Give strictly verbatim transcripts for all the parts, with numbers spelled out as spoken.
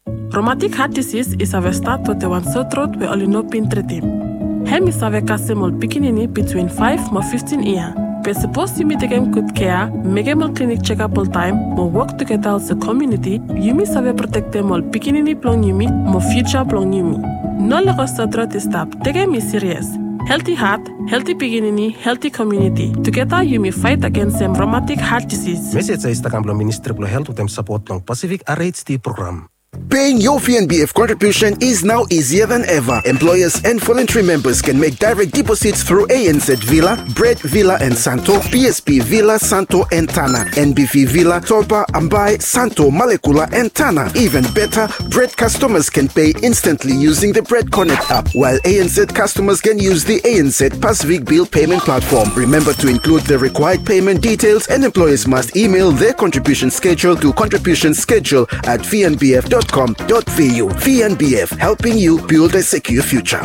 Romatik hat disis i save stat wetem wan sotrot we oli no bin tretim. Hem i save kasem ol pikinini bitwin faef mo fiftin yia. Be sapos yumi tekem gud kea, mekem ol klinik jekap oltaem mo wok tugeta olsem komuniti, yumi save protektem ol pikinini blong yumi mo fiuja blong yumi. No lego sotrot i stap. Tekem i sirias. Helti hat, helti pikinini, helti komuniti. Tugeta yumi faet agensem romatik hat disis. Mesej ya i stap kam blong Ministri blong Helt wetem sapot blong Pasifik R H D program. Paying your V N B F contribution is now easier than ever. Employers and voluntary members can make direct deposits through A N Z Villa, Bread Villa and Santo, P S P Villa, Santo and Tana, N B V Villa, Toba, Ambae, Santo, Malekula and Tana. Even better, Bread customers can pay instantly using the Bread Connect app, while A N Z customers can use the A N Z Pacific Bill Payment Platform. Remember to include the required payment details, and employers must email their contribution schedule to contribution schedule at V N B F dot com dot V U. V N B F, helping you build a secure future.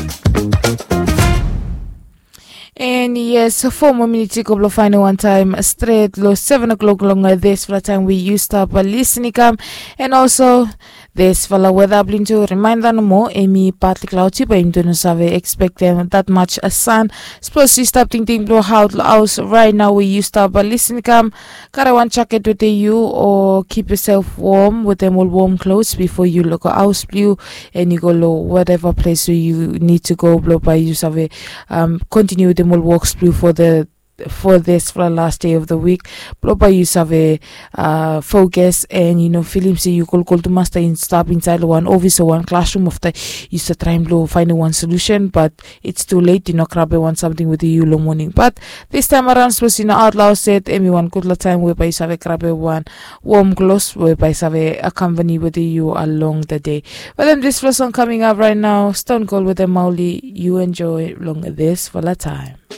And yes, four more minutes i go blong faenem wan taem stret long seven o'clock long disfala taem we yu stap lisin i kam. And also, disfala weda blong tu remaenda nomo, hemi partly cloudy, bae yumi tu no save expectem that much sun. Sapos yu stap tingting blong aot long haos right now we yu stap lisin i kam, karem wan jaket wetem yu o keep yourself warm wetem ol warm clothes before yu lego haos blong yu and yu go long whatever place we yu need to go blong bae yu save um, continue wetem ol woks blong yu for the for disfala last day of the week. Blong bae yu save uh, focus and yu no filim se yu kolkol tumas taem yu stap insaed long wan ofis o wan klasrum afta yu stap traem blong faenem wan solution, but it's too late, yu no grabem wan samting wetem yu long moning. But distaem araon sapos yu no aot long haos yet, hemi wan gudfala taem we bae yu save grabem wan warm clothes we bae save accompany wetem yu along the day. Wetem disfala song coming up right now, Stone Cold wetem Mauli, yu enjoy long disfala taem.